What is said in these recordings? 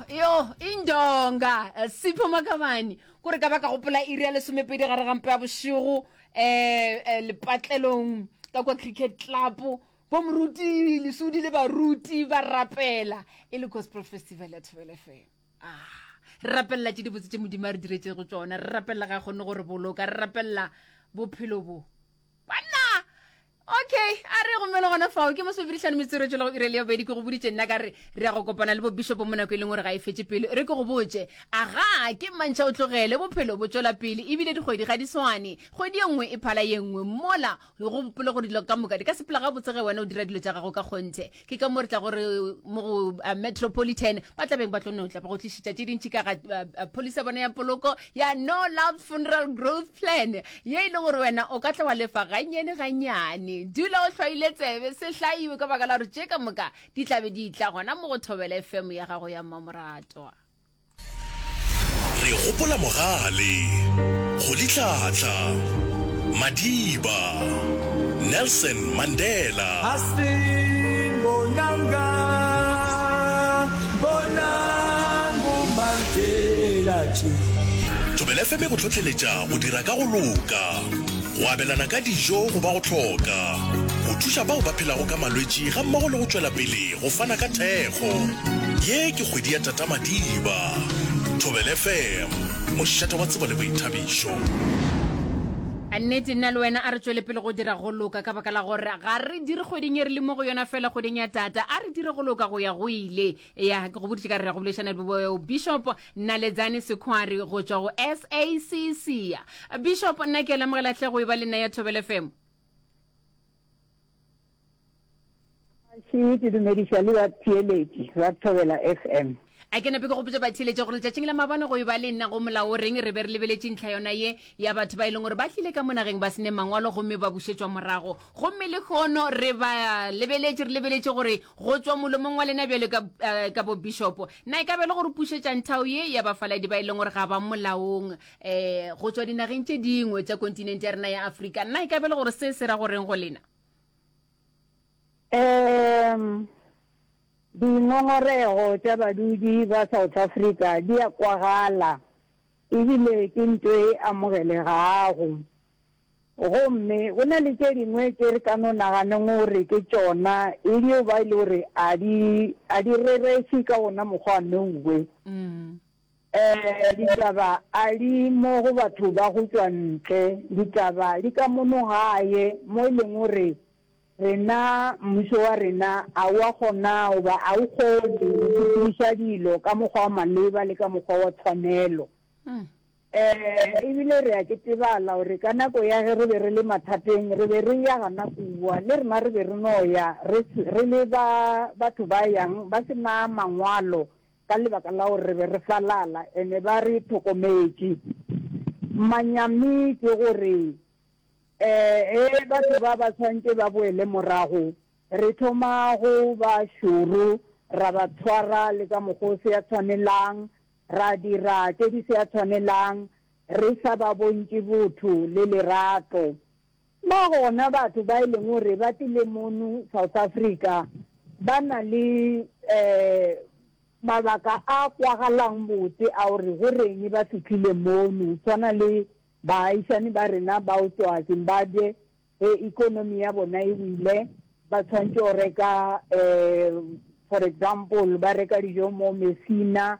yo indonga eh, Sipho Makabane kore ka ba ka gopola iri ya lesomepedi gare gampe ya bošego um lepatlelong ka kwa cricket club bo moruti lesudi le baruti ba rapela e le gospel festival ya thobele fm ah re rapelela tše dibotse tše modimo a re diretšego tšona re rapelela ga kgone go re boloka re rapelela bophelo bo banna okay a re gomme le gona fao ke masomepedihlano metsero tšwela go ire le ya bobedi ke go boditše nna ka re re ya go kopana le bobishopo mo nako e leng gore ga e fetše pele re ke go botše aga ke mantšha o tlogele bophelo bo tšwela pele ebile dikgwedi ga di swane kgwedi ye nngwe e phala ye nngwe mola Go gopole gore dilo ka moka di ka sepela gabotse ge wena o dira dilo tša gago ka kgonthe. Ke ka mo re tla gore mo go uh, Metropolitan ba tla beng ba tlo no tla ba go tlišetša tše dintši ka ga uh, uh, policy ya bona ya poloko ya No Love Funeral Growth Plan ye e leng gore wena o ka tla wa lefa gannyane gannyane. Dula o hlwaile tsebe se hlaiwe ka baka la gore tše ka moka di tla be di tla gona mo go Thobela FM ya gago ya mmamoratwa. Re gopola Mogale, Rolihlahla, Madiba, Nelson Mandela. Thobela FM e go hlohleletša go dira ka go loka, go abelana ka dijo go ba go hloka, go thuša bao ba phelago ka malwetši gammogo le go tšwela pele go fana ka thekgo. Ye ke kgwedi ya Tata Madiba. Thobela FM, mošate wa tsebo le boithabišo. A nnete nna le wena a re tšwele pele go dira go loka ka baka la gore ga re dire kgweding e re le mo go yona fela kgweding ya tata a re dire go loka go ya go ile ya ke go boditše ka re ya go boledišana le bo bishop naledzane sekhwari go tšwa go sacc bishop nna ke a lemogela hle go e ba le nna ya thobela fm Še ke dumediša le batheeletši ba Thobela FM. A ke nape ke gopotša batheeletši gore letšatšing la maabane go e ba le nna go molao o reng re be re lebeletše ntlha yona ye ya batho ba e leng gore ba tlile ka mo nageng ba se ne mangwalo gomme ba bušetšwa morago. Gomme lehono re ba lebeletše re lebeletše gore go tšwa molomong wa lena bjalo ka, eh, ka bo bishopo na e ka be le gore pušetša nthao ye ya bafaladi ba e leng gore ga ba molaong eh, go tšwa dinageng tše dingwe tša kontinente ya rena ya Afrika. Na e ka be le gore se se ra goreng go lena? Um Dingongorego tša badudi ba South Africa di a kwagala ebile ke nto e amogelegago. Gomme go na le tše dingwe tše re ka no naganeng gore ke tšona e dio ba e le gore a di a di rereše ka wona mokgwa nouwe. Um Ditaba a di mo go batho ba go tšwa ntle, ditaba di ka mono gae mo e leng gore rena mmušo wa rena a wa kgona goba a o kgone go sepediša dilo ka mokgwa wa maleba le ka mokgwa wa tshwanelo. Um Ebile re a ketebala gore ka nako ya ge re be re le mathateng re be re ya gana kua, le rena re be re no ya re re le ba batho ba yang ba se na mangwalo ka lebaka la gore re be re falala ene ba re thokometše. Manyami ke gore ge batho ba ba tshwanetše ba boele morago, re thoma go ba šoro, ra ba tshwara le ka mokgwa o se ya tshwanelang, ra dira tše di se ya tshwanelang, re sa ba bontše botho le lerato. Ba gona batho ba e leng gore ba tlile mono South Africa ba na le mabaka a kwagalang botse a gore go reng ba fihlile mono, tshwana le baagišani ba rena ba go tšwa Zimbabwe ge economy ya bona e wile ba tshwanetše go reka for example ba reka dijo mo Messina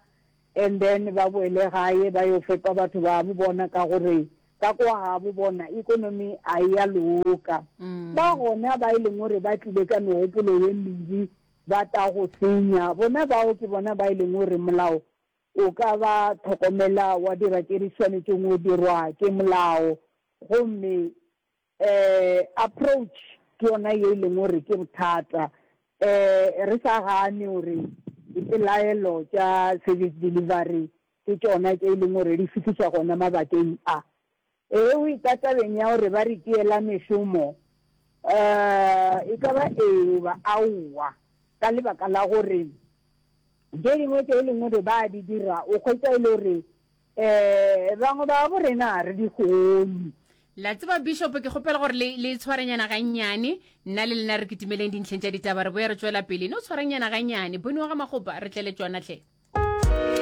and then ba boele gae ba yo fepa batho ba bo bona ka gore ka kwa gabo bona economy a e ya loka. Ba gona ba e leng gore ba tlile ka megopolo ye mebe ba ta go senya, bona bao ke bona ba e leng gore molao o ka ba tlhokomela wa dira tše di swanetšeng go dirwa ke molao gomme Approach ke yona ye e leng gore ke bothata. Re sa gane gore dipelaelo tša service delivery ke tšona tše e leng gore di fihliša gona mabakeng a. Ge o etla tabeng ya gore ba re tiela mešomo, e ka ba ee goba aowa, ka lebaka la gore tše dingwe tše e leng gore ba a di dira o hwetša e le gore bangwe ba bo rena ga re di kgone. La tseba Bishop ke kgopela gore le le tshwarenyana gannyane nna le lena re kitimeleng dintlheng tša ditaba re boya re tšwela pele no tshwarenyana gannyane bone wa ga Makgopa re tlele tšona hle.